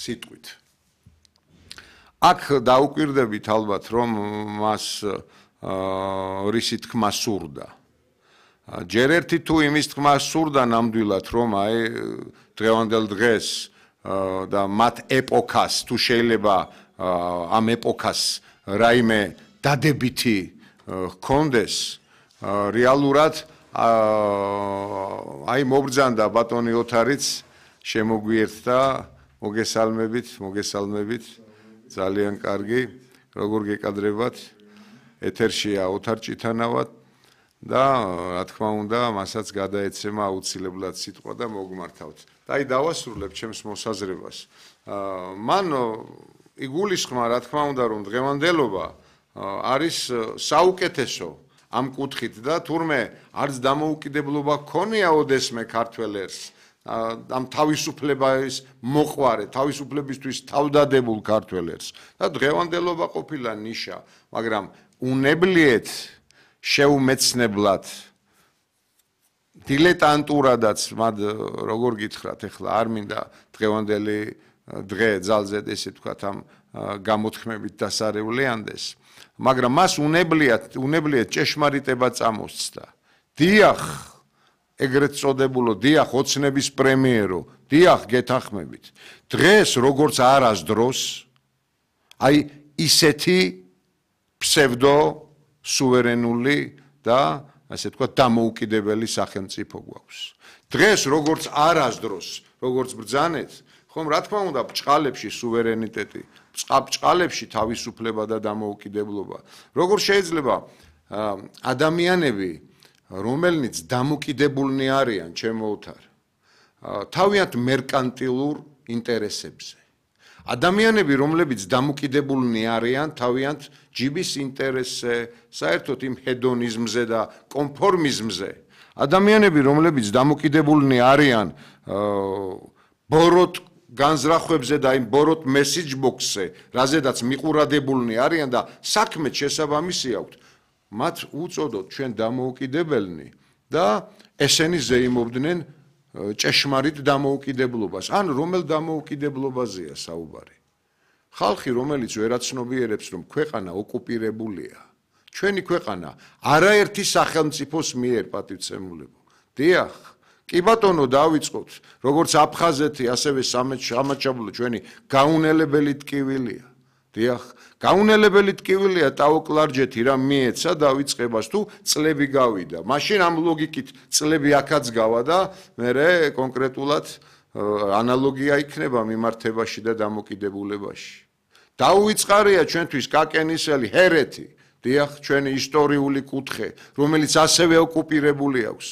სიტყვით. აქ დაუკვირდებით ალბათ, რომ მას რისი თქმა სურდა. ჯერ ერთი თუ იმის თქმა სურდა ნამდვილად, რომ აი დღევანდელ დღეს და მათ ეპოქას თუ შეიძლება ამ ეპოქას რაიმე დადებითი ჰქონდეს, რეალურად აი მობრძანდა ბატონი ოთარიც შემოგვიერთდა, მოგესალმებით, ძალიან კარგი, როგორ გეკადრებათ, ეთერშია ოთარ ჭითანავად და რა თქმა უნდა, მასაც გადაეცემა აუცილებლად სიტყვა და მოგმართავთ. და აი დავასრულებ ჩემს მოსაზრებას. მან იგულისხმა, რა თქმა უნდა, რომ დღევანდელობა არის საუკეთესო ამ კუთხით და თურმე არც დამოუკიდებლობა ქონია ოდესმე ქართველ ერს ამ თავისუფლების მოყვარე, თავისუფლებისთვის თავდადებულ ქართველ ერს და დღევანდელობა ყოფილა ნიშა, მაგრამ უნებლიეთ შეუმეცნებლად დილეტანტურადაც მათ როგორ გითხრათ ახლა არ მინდა დღევანდელი დღე ძალზედ ესე ვთქვათ ამ გამოთქმებით დასარევლიანდეს, მაგრამ მას უნებლიეთ ჭეშმარიტება წამოსცდა. დიახ, ეგრეთ წოდებულო, დიახ, ოცნების პრემიერო, დიახ, გეთანხმებით. დღეს როგორც არასდროს, აი ისეთი ფსევდო სუვერენული და ასე ვთქვათ დამოუკიდებელი სახელმწიფო გვაქვს. დღეს როგორც არასდროს, როგორც ბრძანეთ, ხომ რა თქმა უნდა ბჭყალებში სუვერენიტეტი, ბჭყალებში თავისუფლება და დამოუკიდებლობა. როგორ შეიძლება ადამიანები, რომელნიც დამოკიდებულნი არიან, ჩემო ოთარ, თავიანთ მერკანტილურ ინტერესებზე. ადამიანები, რომლებიც დამოკიდებულნი არიან თავიანთ ჯიბის ინტერესზე, საერთოდ იმ ჰედონიზმზე და კონფორმიზმზე. ადამიანები, რომლებიც დამოკიდებულნი არიან ბოროტ განზრახვებზე და იმ ბოროტ მესიჯ ბოქსზე, რაზედაც მიყურადებულნი არიან და საქმეც შესაბამისი აქვთ, მათ უწოდოთ ჩვენ დამოუკიდებელნი და ესენი ზეიმობდნენ ჭეშმარიტ დამოუკიდებლობას. ან რომელ დამოუკიდებლობაზეა საუბარი? ხალხი, რომელიც ვერაცნობიერებს, რომ ქვეყანა ოკუპირებულია, ჩვენი ქვეყანა არაერთი სახელმწიფოს მიერ პატივცემულებო. დიახ, კი ბატონო, დავიწყოთ, როგორც აფხაზეთი, ასევე სამაჩაბლო ჩვენი გაუნელებელი ტკივილია. დიახ, გაუნელებელი ტკივილია ტაო-კლარჯეთი რა მიეცა დავიწყებას თუ წლები გავიდა. მაშინ ამ ლოგიკით წლები აქაც გავა და მერე კონკრეტულად ანალოგია იქნება მიმართებაში და დამოკიდებულებაში. დაუვიწყარია ჩვენთვის კაკენისელი ჰერეთი, დიახ, ჩვენი ისტორიული კუთხე, რომელიც ასევე ოკუპირებული აქვს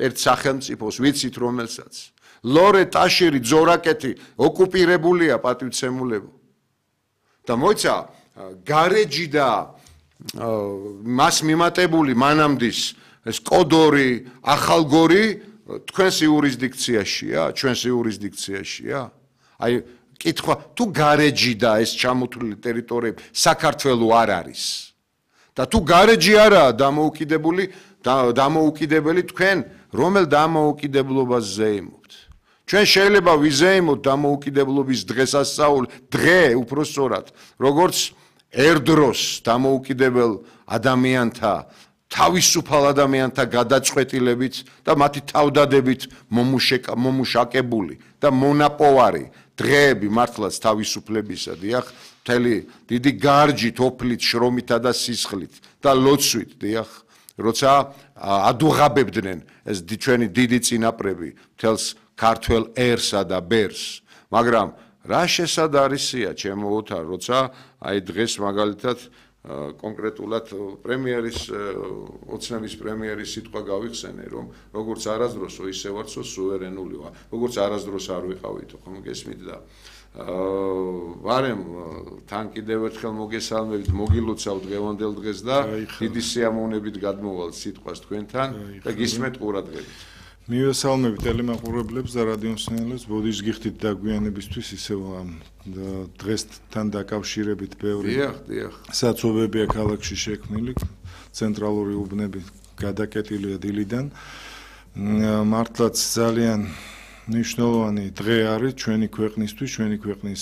ერთ სახელმწიფოს, ვიცით რომელსაც. ლორე, ტაშირი, ძორაკეთი ოკუპირებულია პატივცემულებო. და მოიცა გარეჯი და მას მიმატებული მანამდის ეს კოდორი, ახალგორი თქვენს იურისდიქციაშია, ჩვენს იურისდიქციაშია. აი კითხვა, თუ გარეჯი და ეს ჩამოთვლილი ტერიტორიები საქართველო არ არის და თუ გარეჯი არაა დამოუკიდებელი თქვენ რომელ დამოუკიდებლობას ზეიმობთ? ჩვენ შეიძლება ვიზეიმოთ დამოუკიდებლობის დღესასწაული, დღე უпроსწორად, როგორც ერდროს დამოუკიდებელ ადამიანთა, თავისუფალ ადამიანთა გადაწყვეტილებით და მათი თავდადებით მომუშაკებული და მონაპოვარი დღეები მართლაც თავისუფლებისა, დიახ, მთელი დიდი გარჯით, ოფლით, შრომითა და სისხლით და ლოცვით, დიახ, როცა ადუღაბებდნენ ეს ჩვენი დიდი წინაპრები მთელს ქართველ ერსა და ბერს, მაგრამ რა შესაძარისია ჩემო ოთარ, როცა აი დღეს მაგალითად კონკრეტულად პრემიერის ოცნების პრემიერის სიტყვა გავიხსენე, რომ როგორც არასდროსო ისე ვარცო სუვერენული ვარ, როგორც არასდროს არ ვიყავითო, ხომ გესმით და ვარემ თან კიდევ ერთხელ მოგესალმებით, მოგილოცავთ დღევანდელ დღეს და დიდი სიამოვნებით გადმოვალთ სიტყვას თქვენთან და გისმენთ ყურადღებით. მივესალმებით ტელემაყურებლებს და რადიომსმენელებს, ბოდიშ გიხდით დაგვიანებისთვის ისევ ამ დღესთან დაკავშირებით ბევრი საცობებია ქალაქში შექმნილი, ცენტრალური უბნები გადაკეტილია დილიდან. მართლაც ძალიან მნიშვნელოვანი დღე არის ჩვენი ქვეყნისთვის, ჩვენი ქვეყნის